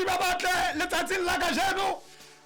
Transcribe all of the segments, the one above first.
Bamamedi ba batle letsatsing la kajeno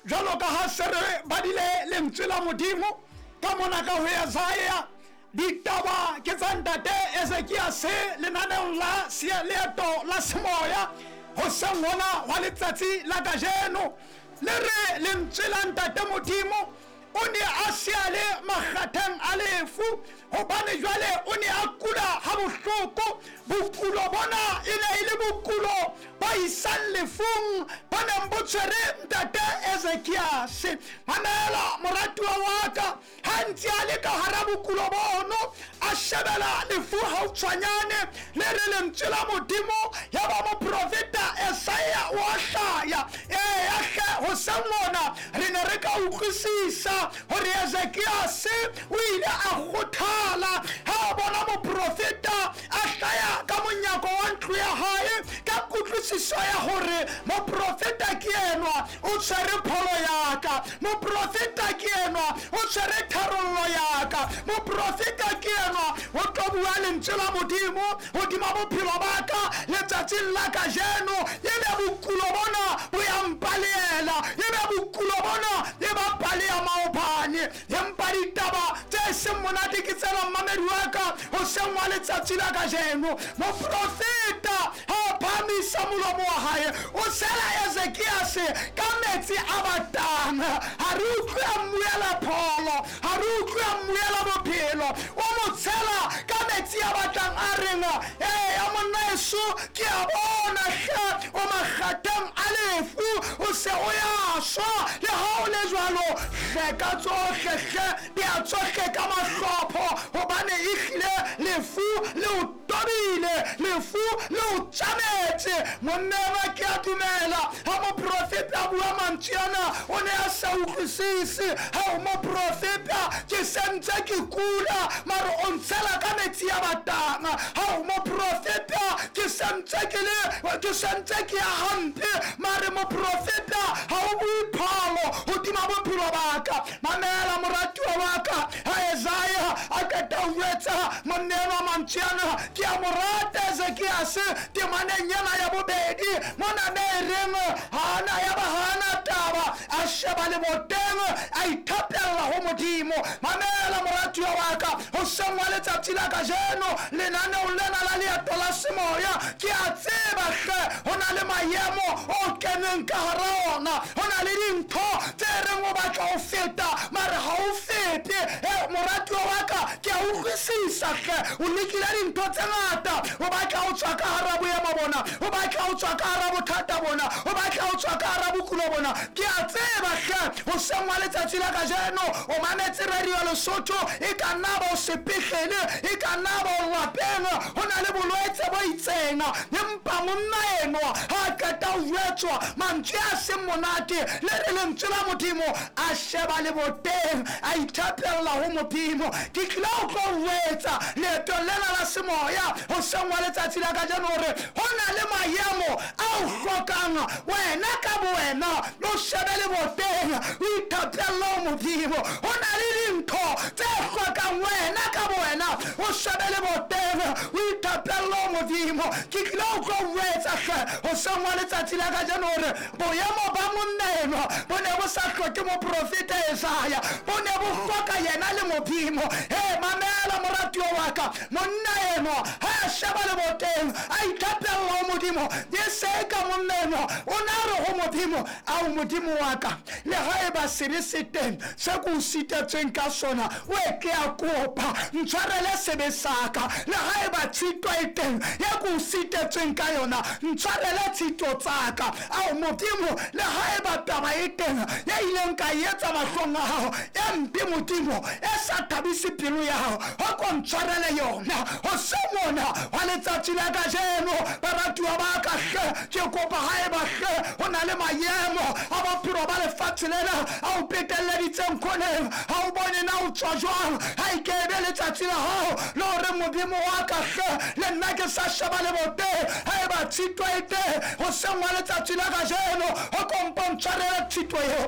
jwalo ka ha se re badile lentswe la Modimo ka mona ka ho Esaia. Ditaba ke tsa ntate Ezekiase lenaneong la leeto la semoya hoseng hona hwa letsatsi la kajeno. Le re lentswe la ntate Modimo o ne a se a le makgatheng a lefu, hobane jwale o ne a kula ha bohloko. Bokulo bona e ne e le bokulo bo isang lefung bo neng bo tshwere ntate Ezekiase. Mamela moratuwa wa ka, ha ntse a le ka hara bokulo bono, a shebela lefu hautshwanyane. Le re lentswe la Modimo ya ba moprofeta Esaia o a hlaya. Eya hle, hoseng hona re ne re ka utlwisisa hore Ezekiase o ile a kgothala ha a bona moprofeta a hlaya ka monyako wa ntlo ya hae, ka kutlwisiso ya hore moprofeta ke enwa o tshwere pholo ya ka, moprofeta ke enwa o tshwere tharollo ya ka, moprofeta ke enwa o tlo bua lentswe la Modimo hodima bophelo ba ka letsatsing la kajeno. Ebe bokulo bona bo ya mpaleela, ebe bokulo bona e ba pale ya maobane. Empa ditaba tse seng monate ke tsena mmamedi wa ka hoseng wa letsatsi la kajeno. Moprofeta ha a phahamisa molomo wa hae, o tshela Ezekiase ka metsi a batang. Ha re utlwe a mmuela pholo, ha re utlwe a mmuela bophelo, o mo tshela ka metsi a batlang, a reng, eya monna eso, ke a bona hle o makgatheng a lefu, o se o ya shwa. Le ha o le jwalo, hleka tsohle hle, bea tsohle ka mahlopho, hobane ehlile lefu le o tobile, lefu le o tjametse. Monna enwa ke a dumela ha moprofeta a bua mantswe ana, o ne a sa utlwisise. Ha o moprofeta, ke sentse ke kula, mare o ntshela ka metsi a batang. Ha o moprofeta, ke sentse ke le, ke sentse ke ya hampe, mare moprofeta ha o bue pholo hodima bophelo ba ka. Mamela moratuwa wa ka, ha Esaia a qeta ho jwetsa monna enwa mantswe ana, ke a mo rata Ezekiase temaneng ena ya bobedi mona me e reng hana ya ba hana taba, a sheba leboteng, a ithapella ho Modimo. Mamela moratuwa wa ka, hoseng wa letsatsi la kajeno lenaneong lena la leeto la semoya, ke a tseba hle ho na le maemo o keneng ka hara ona, ho na le dintho tse reng o batla ho feta mare ha o fete. Moratuwa wa ka, ke a utlwisisa hle o lekile dintho tse ngata, o batla ho tswa ka hara boemo bona, o batla ho tswa ka hara bothata bona, o batla ho tswa ka hara bokulo bona. Ke a tseba hle hoseng wa letsatsi la kajeno o mametse radio Lesotho, e ka nna ba o sepetlele, e ka nna ba o lapeng, ho na le bolwetse bo itseng. Empa monna enwa ha a qeta ho jwetswa mantswe a seng monate, le re lentswe la Modimo, a sheba leboteng, a ithapella ho Modimo. Ke tlile ho tlo jwetsa leetong lena la semoya hoseng wa letsatsi la kajeno hore ho na le maemo a o hlokang wena ka bowena o shebe leboteng, o ithapelle ho Modimo. Ho na le dintho tse hlokang wena ka bowena o shebe leboteng, o ithapelle ho Modimo. Ke tlile ho tlo jwetsa hle hoseng wa letsatsi la kajeno hore boemo ba monna enwa bo ne bo sa hloke moprofeta Esaia, bo ne bo hloka yena le Modimo. Mamela moratuwa wa ka, monna enwa ha a sheba leboteng, a ithapella ho Modimo, e se ka monna enwa o na re ho Modimo, ao Modimo wa ka, le ha eba sebe se teng se ke o sitetsweng ka sona, o e ke a kopa ntshwarele sebe sa ka. Le ha eba tshito e teng ye ke o sitetsweng ka yona, ntshwarele tshito tsa ka. Ao Modimo, le ha eba taba e teng ye ileng ka etsa mahlong a hao e mpe, Modimo, e sa thabise pelo ya hao, ho ko ntshwarele yona. Hoseng hona wa letsatsi la kajeno, baratuwa ba ka hle, ke kopa ha eba hle ho na le maemo a bophelo ba lefatshe lena a o petelleditseng khoneng, ha o bone na o tswa jwang, ha e ke ebe letsatsi la hao le hore Modimo wa ka hle, le nna ke sa sheba leboteng, ha eba tshito e teng hoseng wa letsatsi la kajeno, ho kompo ntshwarele tshito eo.